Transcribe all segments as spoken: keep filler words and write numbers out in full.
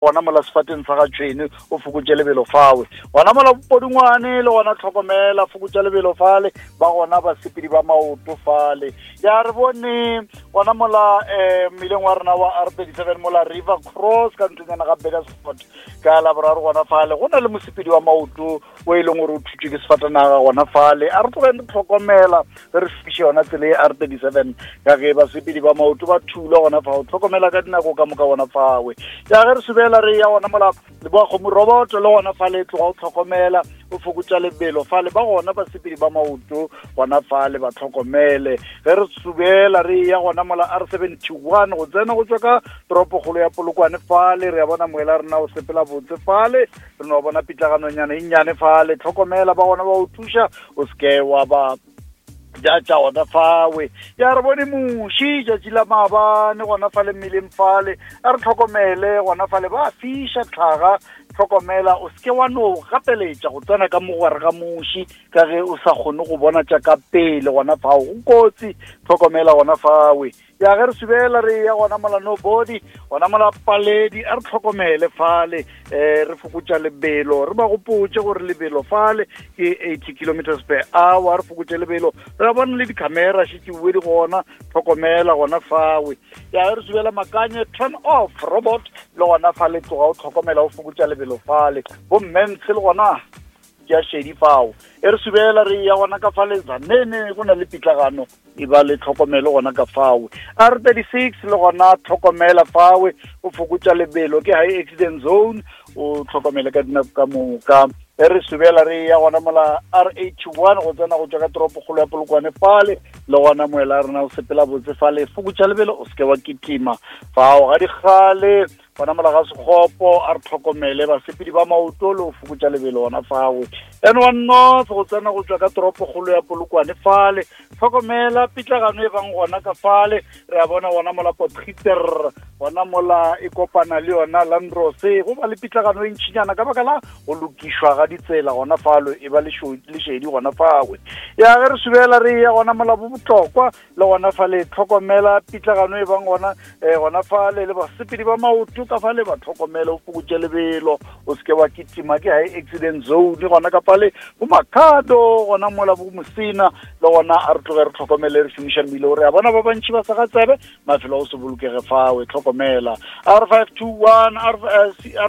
Gona mola sefateng sa ga tšhwene, o fokotše lebelo fawe. Gona mola Podingwane, le gona tlhokomela, fokotša lebelo fale, ba gona basepedi ba maoto fale. Ya, re bone gona mola um mmileng wa rena wa R thirty seven mola River Cross ka ntlonyana ga Burgersfort ka Laboraro, gona fale go na le mosepedi wa maoto o e leng gore o thutšwe ke sefatanaga gona fale. A re tlogeng re tlhokomela ge re fiše yona tsela e R thirty seven, ka ge basepedi ba maoto ba thulwa gona fao. Tlhokomela ka dinako ka moka gona fawe. Ya, ge re subela re ya gona mola Leboa Kgomo Roboto, le gona fale tloga o tlhokomela, o fokotša lebelo fale, ba gona basepedi ba maoto gona fale, ba tlhokomele. Ge re subela re ya gona mola R seventy one go tsena go tswa ka toropokgolo ya Polokwane fale, re ya bona moela rena o sepela botse fale, re no bona pitlaganonyana e nnyane fale. Tlhokomela, ba gona ba o thuša, o seke wa ba ja tša gona fawe. Ya, re bone muši tšatši la maabane gona fale mmeleng fale. A re tlhokomele gona fale, ba fiša tlhaga. Tlhokomela, o seke wa no gapeletša go tsena ka mogare ga muši, ka ge o sa kgone go bona tša ka pele gona fao, go kotsi. Tlhokomela gona fawe. Ya, ge re subela re ya gona mola Nobody, gona mola Paledi, a re tlhokomele fale, um re fokotša lebelo. Re ba gopotše gore lebelo fale ke eighty kilometers per hour, re fokotše lebelo. Re bona le di-camera šetše di gona, tlhokomela gona fawe. Ya, ge re subela Makanye turn off robot, le gona fale tloga o tlhokomela, o fokotša lebelo fale. Bommentshe le gona ke a šedi fao. E re subela re ya gona ka fale Zanene, go na le pitlagano, e ba le tlhokomelo gona ka fawe. R thirty six le gona tlhokomela fawe, o fokotša lebelo, ke high accident zone, o tlhokomele ka dinako ka moka. E re subela re ya gona mola R eighty one go tsena go tswa ka toropokgolo ya Polokwane fale, le gona moela rena o sepela botse fale, fokotša lebelo, o seke wa kitima fao ga dikgale. Gona mola ga Sekgopo, a re tlhokomele basepedi ba maoto le go fokotša lebelo gona fawe. N one North go tsena go tswa ka toropokgolo ya Polokwane fale, tlhokomela pitlagano e bang gona ka fale. Re a bona gona mola Potgieter, gona mola e kopana le yona Landrose, go ba le pitlagano e ntšhinyana ka baka la go lokišwa ga ditsela gona falo, e ba lešedi gona fawe. Ya, ge re subela re ya gona mola bo Botlokwa, le gona fale tlhokomela pitlagano e bang gona um gona fale, le basepedi ba maoto ka fale ba tlhokomele, o fokotše lebelo, o seke wa kitima, ke high accident zone gona ka fale. Bo Makhado gona mola bo Mosina, le gona a re tloge re tlhokomele, re šomiša mmile o re a bona ba bantši ba sa ga tsebe mafelo a o se bolokege fawe, tlhokomela. R five two one, R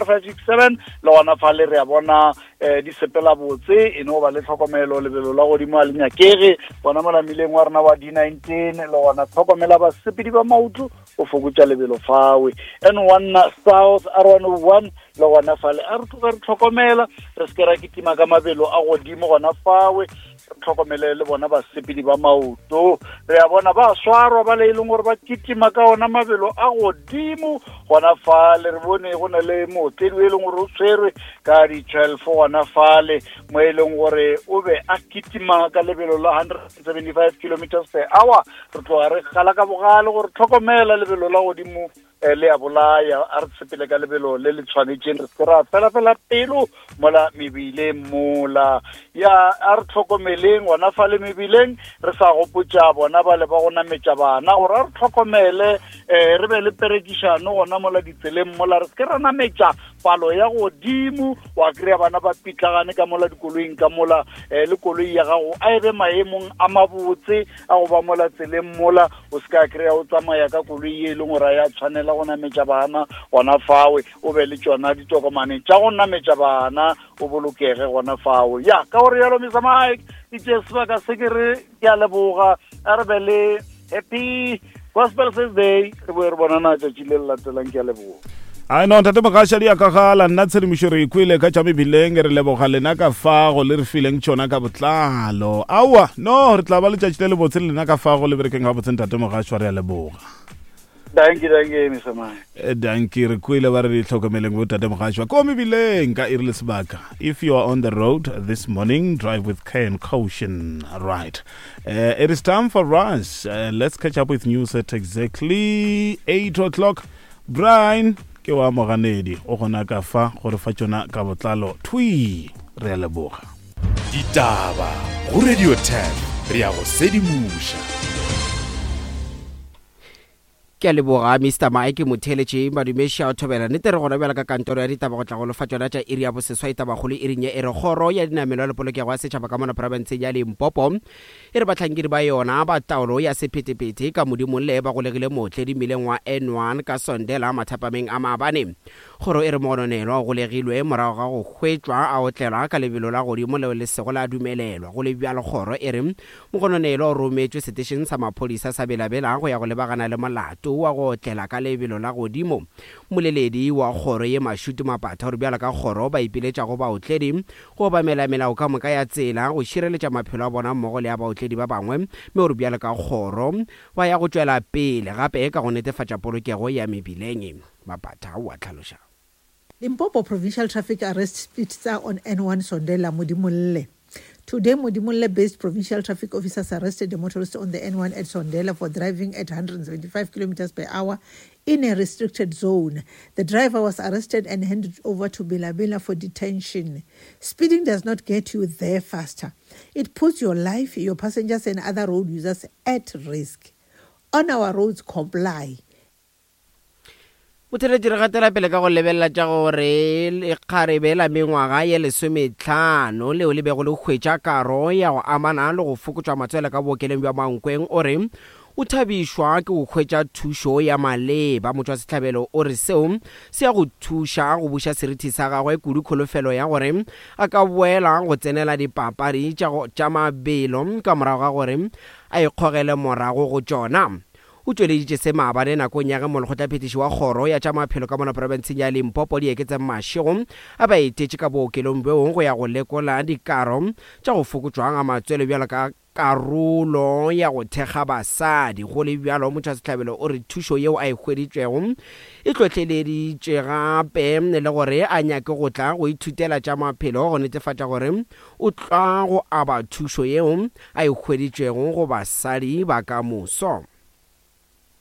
five six seven, le gona fale re a bona um di sepela botse, e no ba le tlhokomelo, lebelo la godimo a le nyakege gona mola mmileng wa rena wa D nineteen, le gona tlhokomela basepedi ba maoto, o fokotša lebelo fawe. N one South, R one oh one, le gona fale a re tloge re tlhokomela, re seke ra kitima ka mabelo a godimo gona fawe, re tlhokomele le bona basepedi ba maoto. Re a bona ba swarwa ba le e leng gore ba kitima ka ona mabelo a godimo gona fale. Re bone go na le mootledi o e leng gore o tshwerwe ka di-twelve gona fale, mo e leng gore o be a kitima ka lebelo la hundred and seventy five kilometers per hour. Re tloga re gala ka bogale gore tlhokomela, lebelo la godimo le a bolaya. A re sepele ka lebelo le le tshwanetseng, re se ra fela fela pelo mola mebileng mola. Ya, a re tlhokomeleng gona fale mebileng, re sa gopotša bona ba le ba go nametša bana gore a re tlhokomele, um re be le perekišano gona mola ditseleng mola, re seke ra nametša palo ya godimo, wa kry-a bana ba pitlagane ka mola dikoloing ka mola. um le koloi ya gago a e be maemong a mabotse a go ba mola tseleng mola, o se ka kry-a o tsamaya ka koloi e leng gore a ya tshwanela go nametša bana gona fawe. O be le tšona ditokomane tša go nametša bana, o bolokege gona fawe. Ya, ka gore yalo, Mister Mike, itse sebaka se ke re ke a leboga, a re be le happy Gospel First Day, re boe re bonana tšatši le le latelang. Ke a leboga. Ai no, ntate Mogaša, di akagala nna tshedimošo re ikwele ka tša mebileng. Re leboga lena ka fago le re fileng tšona ka botlalo. Aowa no, re tla ba letšatši le lebotse le lena ka fago, le berekeng gabotse, ntate Mogašwa, re a leboga. Dankie, dankie, Mister Mike. Dankie, re kwele ba re di tlhokomeleng bo tate Mogašwa ko mebileng ka iri le sebaka. If you are on the road this morning, drive with care and caution. Right, uh, it is time for us, uh, let's catch up with news at exactly eight o'clock. Brian ke wa Moganedi o gona ka fa gore fa tšona ka botlalo thwi. Re a leboga. Ditaba go Radio ten, re ya go sedimoša. Ke a leboga Mister Mike Motheletše Madumeši a o thobela nnete re gona bjala ka kantoro ya ditaba go tla go lefa tšona tša iri ya boseswai. Tabakgolo iring ye e re kgoro ya dinamelwa le polokego ya setšhaba ka mona profenseng ya Limpopo e re bahlankedi ba yona ba taolo ya sephethephethe ka Modimolle ba golegile mootledi mmileng wa N one ka Sondela mathapameng a maabane. Kgoro e re mogononelwa o golegilwe morago ga go hwetšwa a otlelwa ka lebelo la godimo leo le sego la dumelelwa. Go le bjalo kgoro e re mogononelwa o rometšwe setešeng sa maphodisa sa Belabela go ya go lebagana le molato wa go otlela ka lebelo la godimo. Mmoleledi wa kgoro ye Mashudu Mapatha o re bjalo ka kgoro ba ipiletša go baotledi go obamela melao ka moka ya tsela go šireletša maphelo a bona mmogo le a baotledi ba bangwe, mme o re bjalo ka kgoro ba ya go tšwela pele gape ka go netefatša polokego ya mebileng. Mapatha o a tlhaloša. Limpopo Provincial Traffic Arrest Speedster on N one Sondela Modimolle. Today, Modimolle-based provincial traffic officers arrested a motorist on the N one at Sondela for driving at one hundred seventy-five kilometers per hour in a restricted zone. The driver was arrested and handed over to Bilabila for detention. Speeding does not get you there faster. It puts your life, your passengers and other road users at risk. On our roads, comply. Botheletši re gatela pele ka go lebelela tša gore lekgarebe la mengwaga ye lesometlhano leo le bego le hwetša karo ya go amana le go fokotšwa matswele ka bookelong bja Mankweng o re o thabišwa ke go hwetša thušo ya maleba. Motšwasehlabelo o re seo se ya go thuša go buša seriti sa gagwe kudu kholofelo ya gore a ka boela go tsenela dipapadi tša mabelo ka morago ga gore a ikgogele morago go tšona. O tšweleditše se maabane nakong ya ge molekgotlaphethiši wa kgoro ya tša maphelo ka mona profenseng ya Limpopo Dieketseng Mashego a ba etetše ka bookelong bjo go ya go lekola dikaro tša go fokotšwa ga matswele bjalo ka karolo ya go thekga basadi. Go le bjalo motšwasehlabelo o re thušo yeo a e hweditšwego e hlohleleditše gape le gore a nyake go tla go ithutela tša maphelo go netefatša gore o tla go aba thušo yeo a e hweditšwego go basadi ba ka moso.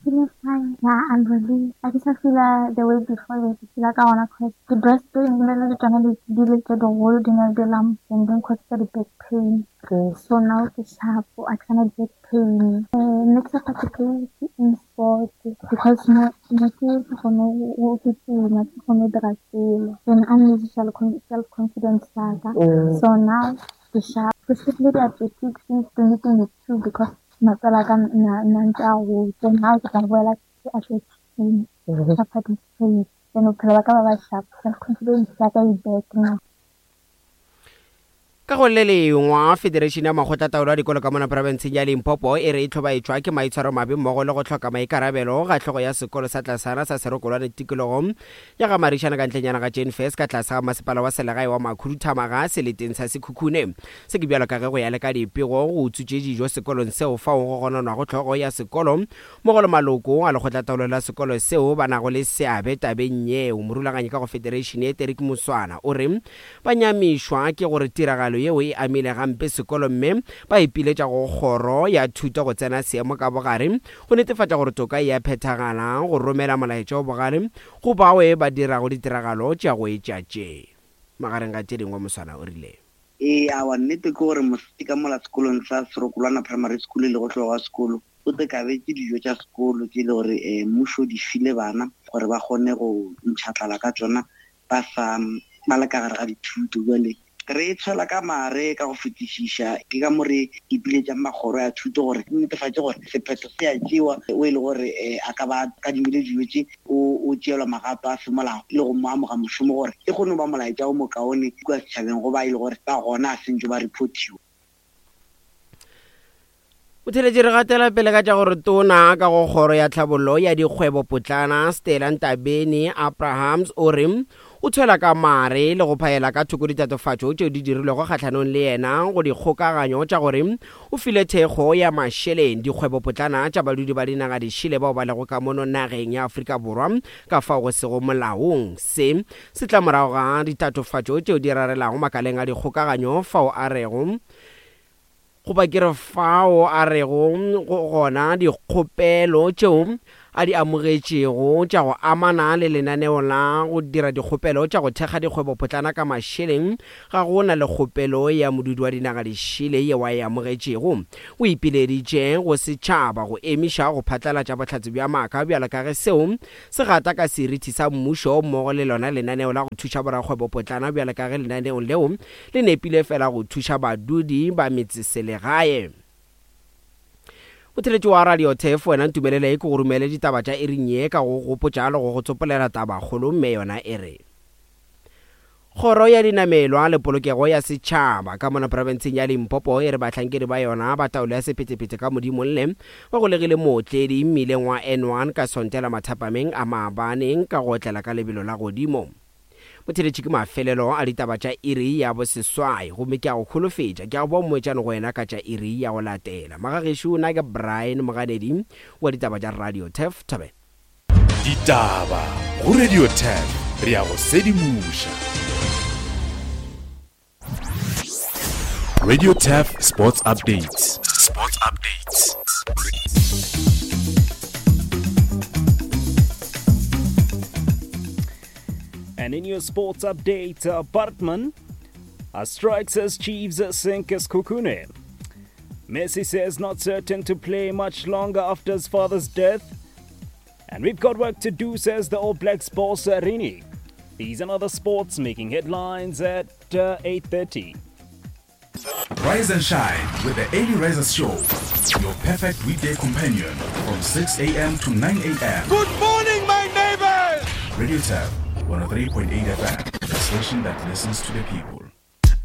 Feeling fine. Yeah, I'm relieved. I just feel like the way before we feel like I wanna cause the breast pain, you know, the channel is dealing with the whole dinner bill and then cause the back pain. Okay. So now it's sharp. I cannot get pain. Uh, next up to play in sport because no, no, no, no, and I'm losing self confidence. So now the sharp. Specifically athletics since twenty twenty-two because matswele a ka na ntse a gotse now ke tla boela ke athletics ka participate then bophelo ba ka ba ba sharp, self confidence ya ka e back now. Ka go le lengwe, Federation ya Makgotlataolo a Dikolo ka mona profenseng ya Limpopo e re e hlobaetšwa ke maitshwaro mabe mmogo le go hloka maikarabelo ga hlogo ya sekolo sa tlasana sa Serokolwane tikologong ya ga Marišana ka ntlenyana ga Jane Furse ka tlase ga masepala wa selegae wa Makhuduthamaga seleteng sa Sekhukhune. Se ke bjalo ka ge go ya le ka dipego go utswitše dijo sekolong seo fao go gononwago hlogo ya sekolo mmogo le maloko a lekgotlataolo la sekolo seo ba nago le seabe tabeng yeo. Morulaganyi ka go Federation ye Terik Moswana o re ba nyamišwa ke gore tiragalo yeo e amile gampe sekolo mme ba ipiletša go kgoro ya thuto go tsena seemo ka bogare go netefatša gore toka e a phethagala go romela molaetša o bogale go bao ba dirago ditiragalo tša go etša tše. Magareng ga tše dingwe Moswana o rile ee awa nnete ke gore mosadi ka mola sekolong sa Serokolwana Primary School le go hlogo wa sekolo o te kabetše dijo tša sekolo tše le gore mmušo di file bana gore ba kgone go ntšha tlala ka tšona ba sa ba le ka gare ga dithuto. Jwale re tshwela ka mare ka go fetišiša ke ka mo re ipiletšang makgoro ya thuto gore netefatše gore sephetho se a tšewa o e le gore a ka ba kadimile dijo tše o tšeelwa magato a semolao le go mo amoga mošomo gore e kgone go ba molaetša o mokaone kua setšhabeng go ba e le gore ba gona a sentše ba reportiwa. Botheletši re gatela pele ka tša gore tona ka go kgoro ya tlhabollo ya dikgwebo potlana Stella Ntabeni Abrahams o re o tshwela ka mare le go phaela ka thoko ditatofatšo tšeo di dirilwego kgahlanong le yena go dikgokaganyo tša gore o file thekgo ya mašeleng dikgwebo potlana tša badudi ba dinaga dišele bao ba lego ka mono nageng ya Afrika Borwa ka fao go sego molaong. Se se tla morago ga ditatofatšo tšeo di rarelago makaleng a dikgokaganyo fao a rego goba ke re fao a rego gona dikgopelo tšeo a di amogetšego tša go amana le lenaneo la go dira dikgopelo tša go thekga dikgwebopotlana ka mašeleng, ga go na le kgopelo ya modudi wa dinaga dišele yeo a e amogetšego. O ipileditše go setšhaba go emiša go phatlalatša bohlatse bja maaka bjalo ka ge seo se gata ka seriti sa mmušo mmogo le lona lenaneo la go thuša borakgwebopotlana bjalo ka ge lenaneo leo le nepile fela go thuša badudi ba metseselegae. Motheletši wa Radio Turf, wena ntumelele ke go romele ditaba tša iring ye ka go gopotša le go go tsopolela tabakgolo, mme yona e re: Kgoro ya Dinamelwa le Polokego ya Setšhaba ka mona profenseng ya Limpopo e re bahlankedi ba yona ba taolo ya sephethephethe ka Modimolle ba golegile mootledi mmileng wa N one ka Sontela mathapameng a maabane ka go otlela ka lebelo la godimo. Motheletši ke mafelelo a ditaba tša iri ya boseswai, gomme ke a go holofetša ke a go boa mmoetšane go wena ka tša iri ya go latela. Magagešo, nna ke Brian Moganedi wa ditaba tša Radio Turf. Thobela. Ditaba go Radio Turf, re a go sedimoša. Radio Turf Sports Updates. Sports Updates. And in your sports update, uh, Bartman uh, strikes as Chiefs sink Sekhukhune. Messi says not certain to play much longer after his father's death. And we've got work to do, says the All Blacks boss Rini. These and other sports making headlines at uh, eight thirty. Rise and shine with the Early Risers Show, your perfect weekday companion from six a.m. to nine a.m. Good morning, my neighbors! Radio Turf one oh three point eight F M, the station that listens to the people.